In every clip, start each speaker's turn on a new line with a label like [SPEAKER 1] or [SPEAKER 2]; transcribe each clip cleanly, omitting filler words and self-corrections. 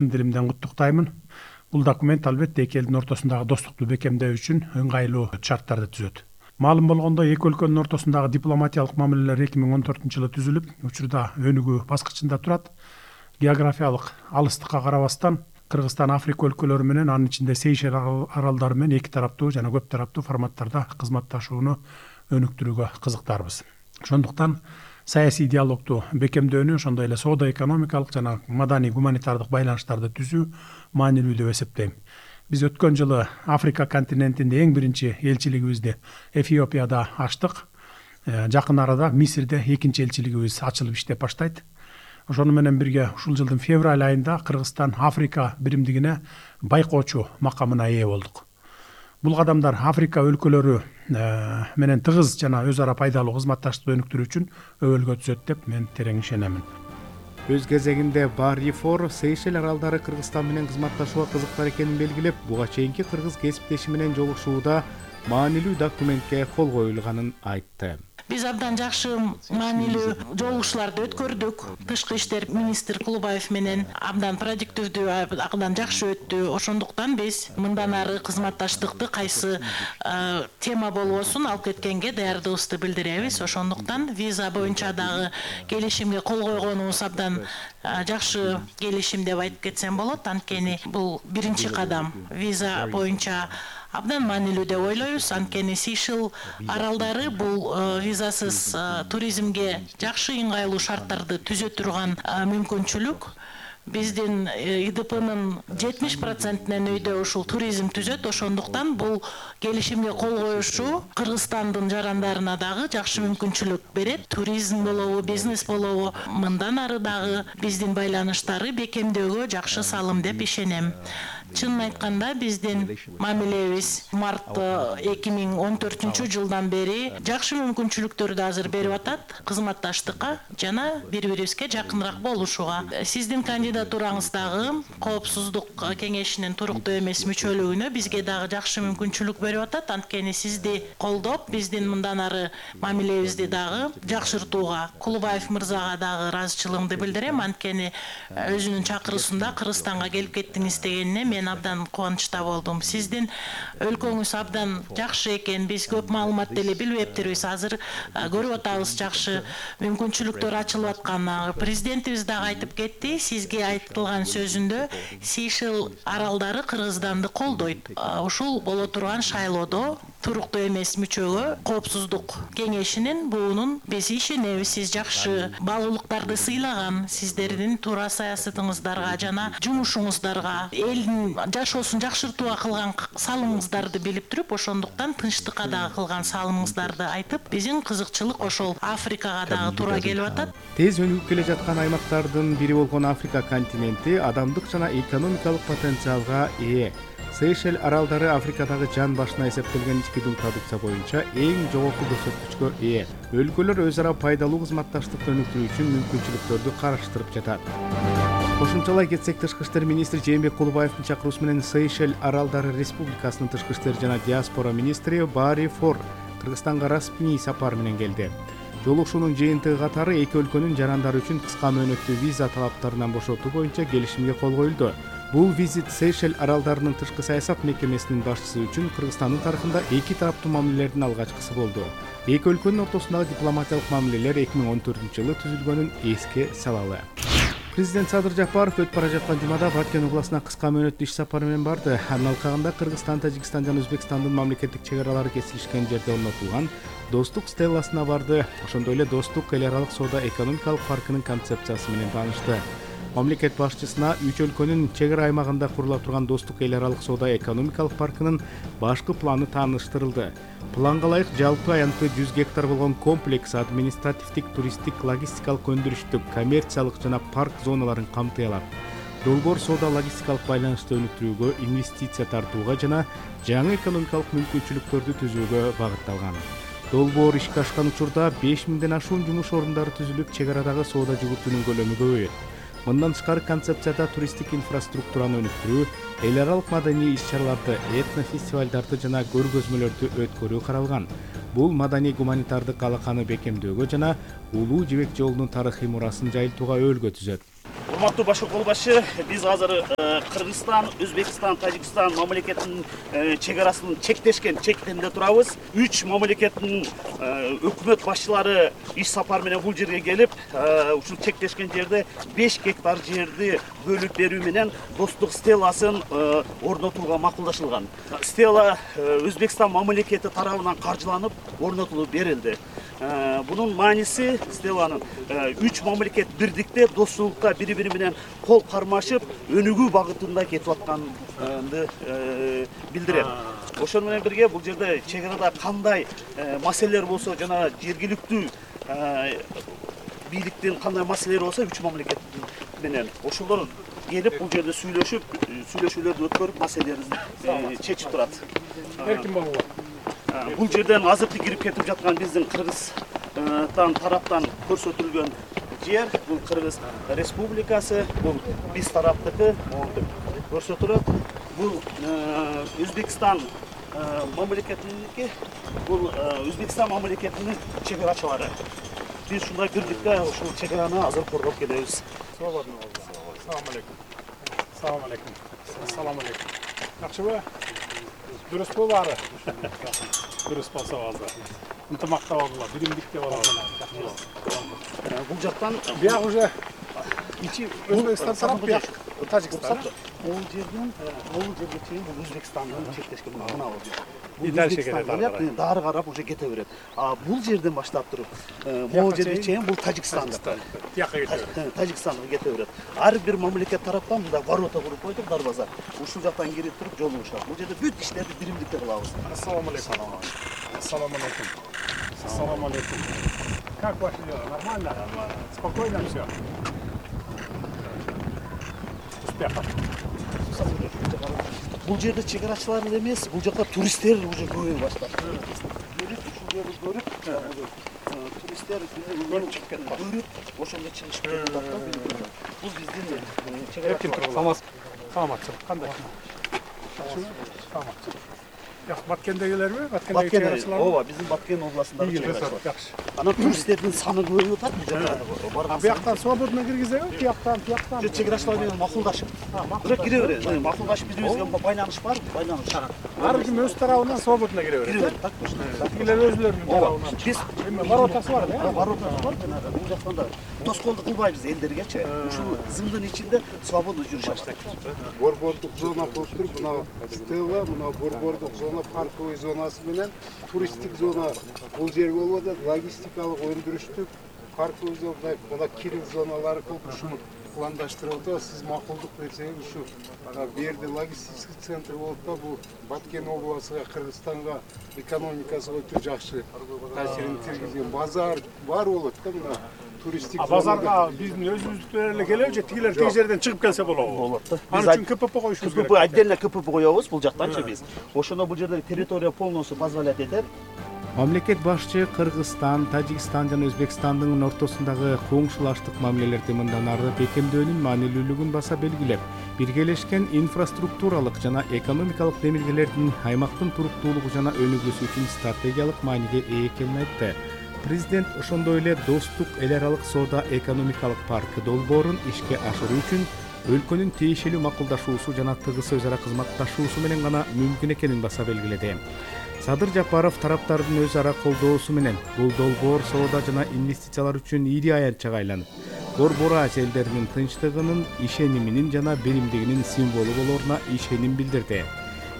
[SPEAKER 1] Диlimden куттуктаймын. Бул документ албетте эки элдин ортосундагы достукту бекемдөө үчүн ыңгайлуу шарттарды түзөт. Маалым болгондой, эки өлкөнүн ортосундагы дипломатиялык мамилелер 2014-жылы түзүлүп, учурда өнүгүү баскычында турат. Географиялык алыстыкка карабастан Кыргызстан Африка өлкөлөрү менен, анын ичинде Сейшел аралдары менен эки тараптуу жана көп тараптуу форматтарда кызматташууну өнүктүрүүгө кызыктарбыз. Ошондуктан саясий диалогту бекемдөөнү, ошондой эле соода-экономикалык жана маданий гуманитардык байланыштарды түзүү маанилүү деп эсептейм. Биз өткөн жылы Африка континентинде эң биринчи элчилигибизди Эфиопияда ачтык. Жакын арада Мисирде экинчи элчилигибиз ачылып иштеп баштайт. Ошону менен бирге ушул жылдын февраль айында Кыргызстан Африка биримдигине байкоочу макамына ээ болдук. Бул кадамдар Африка өлкөлөрү менен тыгыз жана өз ара пайдалуу кызматташтыкты өнүктүрүү үчүн өбөлгө түзөт деп мен терең ишенемин.
[SPEAKER 2] Өз кезегинде Барифор Сейшел аралдары Кыргызстан менен кызматташууга кызыктар экенин белгилеп, буга чейинки кыргыз кесиптеши менен жолугушууда маанилүү документке кол коюлганын айтты.
[SPEAKER 3] Биз абдан жакшы маанилүү жолугушууларды өткөрдүк. Тышкы иштер министр Кулубаев менен абдан продуктивдүү, абдан жакшы өттү. Ошондуктан биз мындан ары кызматташтыкты кайсы тема болбосун алып кеткенге даярдыгыбызды билдиребиз. Ошондуктан виза боюнча дагы келишимге кол койгонубуз абдан жакшы келишим деп айтып кетсем болот. Анткени бул биринчи кадам. Виза боюнча абдан маанилүү деп ойлойбуз. Анткени Сейшел аралдары бул визасыз туризмге жакшы ыңгайлуу шарттарды түзө турган мүмкүнчүлүк. Биздин ИДПнын 70%-нен өйдө ушул туризм түзөт. Ошондуктан бул келишимге кол коюшу Кыргызстандын жарандарына дагы жакшы мүмкүнчүлүк берет. Туризм болобу, бизнес болобу, мындан ары дагы биздин байланыштарды бекемдөөгө жакшы салым деп ишенем. Чынын айтканда биздин мамилебиз март 2014-жылдан бери жакшы мүмкүнчүлүктөрдү азыр берип атат кызматташтыкка жана бири-бирибизге жакыныраак болушуга. Сиздин кандидатураңыз дагы Коопсуздук кеңешинин туруктуу эмес мүчөлүгүнө бизге дагы жакшы мүмкүнчүлүк берип атат. Анткени сизди колдоп, биздин мындан ары мамилебизди дагы жакшыртууга Кулубаев мырзага дагы ыраазычылыгымды билдирем. Анткени өзүнүн чакыруусунда Кыргызстанга келип кеттиңиз дегенине мен абдан кубанычта болдум. Сиздин өлкөңүз абдан жакшы экен. Биз көп маалымат деле билбептирбиз. Азыр көрүп атабыз жакшы мүмкүнчүлүктөр ачылып атканын. Президентибиз дагы айтып кетти. Сизге айтылган сөзүндө Сейшел аралдары Кыргызстанды колдойт. Ушул боло турган шайлоодо туруктуу эмес мүчөгө Коопсуздук кеңешинин буунун биз ишенебиз. Сиз жакшы баалуулуктарды сыйлаган, сиздердин туура саясатыңыздарга жана жумушуңуздарга, элдин жашоосун жакшыртууга кылган салымыңыздарды билип туруп, ошондуктан тынчтыкка дагы кылган салымыңыздарды айтып, биздин кызыкчылык ошол Африкага дагы туура келип атат.
[SPEAKER 2] Тез өнүгүп келе жаткан аймактардын бири болгон Африка континенти адамдык жана экономикалык потенциалга ээ. Сейшел аралдары Африкадагы жан башына эсептелген ички дун продукция боюнча эң жогорку көрсөткүчкө ээ. Өлкөлөр өз ара пайдалуу кызматташтыкты өнүктүрүү үчүн мүмкүнчүлүктөрдү караштырып жатат. Кошумчалай кетсек, тышкы иштер министри Жээнбек Кулубаевдин чакыруусу менен Сейшел аралдары республикасынын тышкы иштер жана диаспора министри Барифор Кыргызстанга расмий сапар менен келди. Жолугушуунун жыйынтыгы катары эки өлкөнүн жарандары үчүн кыска мөөнөттүү виза талаптарынан бошотуу боюнча келишимге кол коюлду. Бул визит Сейшел аралдарынын тышкы саясат мекемесинин башчысы үчүн Кыргызстандын тарыхында эки тараптуу мамилелердин алгачкысы болду. Эки өлкөнүн ортосундагы дипломатиялык мамилелер 2014-жылы түзүлгөнүн эске салалы. Президент Садыр Жапаров өтүп бара жаткан жумада Баткен областына кыска мөөнөттүү иш сапары менен барды. Анын алкагында Кыргызстан, Тажикстан жана Өзбекстандын мамлекеттик чек аралары кесилишкен жерде орнотулган Достук стелласына барды. Ошондой эле Достук эл аралык соода-экономикалык паркынын концепциясы менен таанышты. Мамлекет башчысына үч өлкөнүн чек ара аймагында курула турган Достук эл аралык соода-экономикалык паркынын башкы планы тааныштырылды. Планга ылайык жалпы аянты 100 гектар болгон комплекс административдик, туристтик, логистикалык, өндүрүштүк, коммерциялык жана парк зоналарын камтый алат. Долбоор соода-логистикалык байланышты өнүктүрүүгө, инвестиция тартууга жана жаңы экономикалык мүмкүнчүлүктөрдү түзүүгө багытталган. Долбоор ишке ашкан учурда 5000ден ашуун жумуш орундары түзүлүп, чек арадагы соода жүгүртүүнүн көлөмү көбөйөт. Мындан тышкары концепцияда туристтик инфраструктураны өнүктүрүү, эл аралык маданий иш-чараларды, этнофестивалдарды жана көргөзмөлөрдү өткөрүү каралган. Бул маданий гуманитардык алаканы бекемдөөгө жана Улуу Жибек жолунун тарыхый мурасын жайылтууга өбөлгө түзөт.
[SPEAKER 4] урматтуу башкы кол башы, биз азыр Кыргызстан, Өзбекстан, Тажикстан мамлекетинин чек арасын чектешкен чектенде турабыз. 3 мамлекеттин өкмөт башчылары иш сапар менен бул жерге келип, ушул чектешкен жерде 5 гектар жерди бөлүп берүү менен достук стеласын орнотууга макулдашылган. Стела Өзбекстан мамлекети тарабынан каржыланып орнотулуп берилди. Bunun manisi Stela'nın 3 mamleket birlikte dostlukta biri менен kol karmaşıp önügü bagытында кетип атканды билдирет. Ошон менен бирге бул жерде чек арада кандай маселелер болсо жана жергиликтүү бийликтин кандай маселелери болсо 3 мамлекет менен ошолор келип бул жерде сүйлөшүүлөрдү өткөрүп маселелерин чечип турат.
[SPEAKER 1] Эркин болуңуз.
[SPEAKER 4] Бул жерден азыркы кирип кетип жаткан биздин Кыргызстан тараптан көрсөтүлгөн жер, бул Кыргыз Республикасы, бул биз тараптыкы көрсөтүлөт. Бул Өзбекстан мамлекетиники, бул Өзбекстан мамлекетинин чек арачылары. Биз ушундай бирдикте ушул чек араны азыр коргоп келебиз.
[SPEAKER 1] Салам алейкум. Салам алейкум. Салам алейкум. Жакшыбы? Дұрыс болары. Дұрыс болса болду. Ынтымакта болгула, биримдикте болобуз.
[SPEAKER 4] Бул жактан
[SPEAKER 1] Бияк уже ичи Өзбекстан тарап бияк Тажикстан.
[SPEAKER 4] Бул жерге чейин бул Өзбекстандын чектешкен мына бул жер.
[SPEAKER 1] И дальше кетет.
[SPEAKER 4] Дары карап уже кете берет. А бул жерден баштап туруп, могу жерге чейин бул Тажикстандыкы.
[SPEAKER 1] Тияка кетет.
[SPEAKER 4] Тажикстанга кете берет. Ар бир мамлекет тараптан мында ворота куруп койдук, дарбаза. Ушул жактан кирип туруп жолугушат. Бул жерде бүт иштерди биримдикте кылабыз.
[SPEAKER 1] Ассаламу алейкум. Ассаламу алейкум. Ассаламу алейкум. Как ваши дела? Нормально? Спокойно все? Успехов.
[SPEAKER 4] Бул жерде чек арачылар эмес, бул жакта туристтер уже көбөйө баштады. Туристтер көрүп чыгып кетти. Көрүп, ошондо чыгышып кетти. Бул биздин чек арачылар.
[SPEAKER 1] Саламатсыз. Кандай? Саламатсыз. Баткендегилерби?
[SPEAKER 4] Баткен, ооба, биздин Баткен областындагы чек арачылар.
[SPEAKER 1] Жакшы.
[SPEAKER 4] Анан туристтердин саны көбөйүп атат бул жакта.
[SPEAKER 1] Бияктан свободно киргизеби? Тияктан.
[SPEAKER 4] Чек арачылар менен макулдашып. Бирок кире берет. Макулдашып бирибизге байланыш бар, байланыш.
[SPEAKER 1] Ар ким өз тарабынан свободно кире берет.
[SPEAKER 4] Так точно.
[SPEAKER 1] Тигилер өзүлөрүнүн тарабынан.
[SPEAKER 4] Биз
[SPEAKER 1] Воротасы бар, э?
[SPEAKER 4] Воротасы бар жанагы. Бул жактан да тоскоолдук кылбайбыз элдергечи. Ушул зымдын ичинде свободно жүрүшөбүз.
[SPEAKER 5] Борбордук зона болуп туруп, мына Стелла, мына борбордук зона, парковый зонасы менен туристтик зона бул жерге болуп атат, логистикалык өндүрүштүк парковый зона, мына кирип зоналары болуп ушуну пландаштырып атат. Сиз макулдук берсеңиз ушу берди логистический центр болуп да, бул Баткен областыга, Кыргызстанга экономикасына өтө жакшы таасирин тийгизген базар бар болот да мына.
[SPEAKER 1] Базарга биздин өзүбүздүктөр эле келеби же тигилер тиги жерден чыгып келсе болобу?
[SPEAKER 4] Болот да.
[SPEAKER 1] Ал үчүн КПП коюшубуз керек.
[SPEAKER 4] КПП отдельно КПП коебуз бул жактанчы биз. Ошондо бул жерде территория полностью позволять этет.
[SPEAKER 2] Мамлекет башчы Кыргызстан, Тажикстан жана Өзбекстандын ортосундагы коңшулаштык мамилелерди мындан ары бекемдөөнүн маанилүүлүгүн баса белгилеп, биргелешкен инфраструктуралык жана экономикалык демилгелердин аймактын туруктуулугу жана өнүгүүсү үчүн стратегиялык мааниге ээ экенин айтты. Президент ошондой эле достук эл аралык соода экономикалык паркы долбоорун ишке ашыруу үчүн өлкөнүн тиешелүү макулдашуусу жана тыгыз өз ара кызматташуусу менен гана мүмкүн экенин баса белгиледи. Садыр Жапаров тараптардын өз ара колдоосу менен бул долбоор соода жана инвестициялар үчүн ири аянтчага айланып, Борбор Азия элдеринин тынчтыгынын, ишениминин жана биримдигинин символу болоруна ишеним билдирди.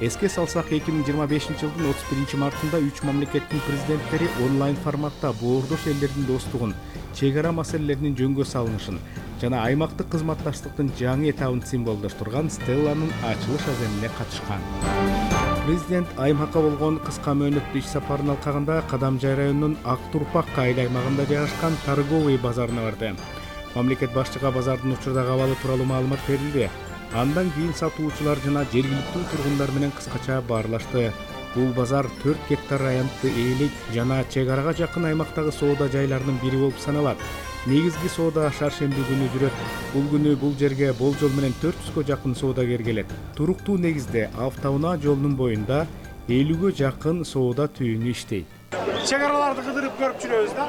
[SPEAKER 2] Эске салсак, 2025-жылдын 31-мартында 3 мамлекеттин президенттери онлайн форматта боордош элдердин достугун, чек ара маселелеринин жөнгө салынышын жана аймактык кызматташтыктын жаңы этабын символдоштурган Стелланын ачылыш аземине катышкан. Президент аймакка болгон кыска мөөнөттүү иш сапарынын алкагында Кадамжай районунун Ак Турпак айыл аймагында жайгашкан торговый базарына барды. Мамлекет башчыга базардын учурдагы абалы тууралуу маалымат берилди. Андан кийин сатуучулар жана жергиликтүү тургундар менен кыскача баарлашты. Бул базар 4 гектар аянтты ээлик жана чек арага жакын аймактагы соода жайларынын бири болуп саналат. Негизги соода шаршемби күнү жүрөт. Бул күнү бул жерге болжол менен 400гө жакын соодагер келет. Туруктуу негизде автоунаа жолунун боюнда 50гө жакын соода түйүнү иштейт.
[SPEAKER 1] чек араларды кыдырып көрүп жүрөбүз да.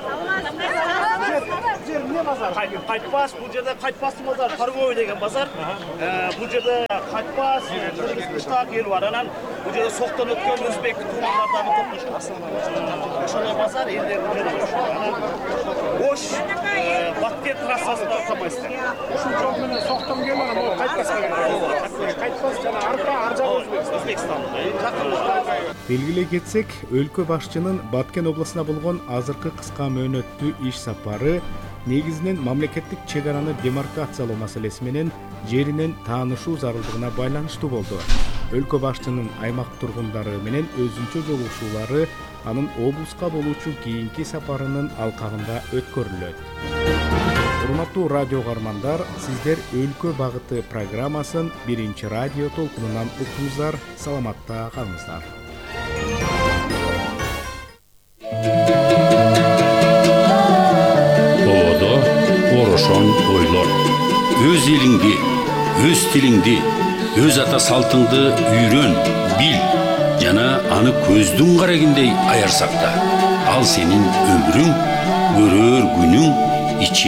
[SPEAKER 1] Жер эмне базар?
[SPEAKER 4] Кайтпас, бул жерде Кайтпастын базары, торговый деген базар. Бул жерде Кайтпас, кыштак эл бар. Анан бул жерде соктон өткөн өзбек тумандардан топтошкон. Ошол базар элде бул жерде. Анан Ош Бакке трассасында тамайсыздар.
[SPEAKER 1] Ушул жол менен соктон келген, бул Кайтпаска келген. Кайтпас жана арка, ар жагы
[SPEAKER 4] Өзбекстан.
[SPEAKER 2] Белгилей кетсек, өлкө башчынын Баткен областына болгон азыркы кыска мөөнөттүү иш сапары негизинен мамлекеттик чек араны демаркациялоо маселеси менен жеринен таанышуу зарылдыгына байланыштуу болду. Өлкө башчынын аймак тургундары менен өзүнчө жолугушуулары анын облуска болуучу кийинки сапарынын алкагында өткөрүлөт. Урматтуу радио каармандар, сиздер Өлкө багыты программасын биринчи радио толкунунан уктуңуздар. Саламатта калыңыздар.
[SPEAKER 6] Оодо орошон ойлор. Өз элиңди, өз тилиңди, өз ата салтыңды үйрөн, бил жана аны көздүн карагиндей аяр сакта. Ал сенин өмүрүң, көрөр күнүң, ичи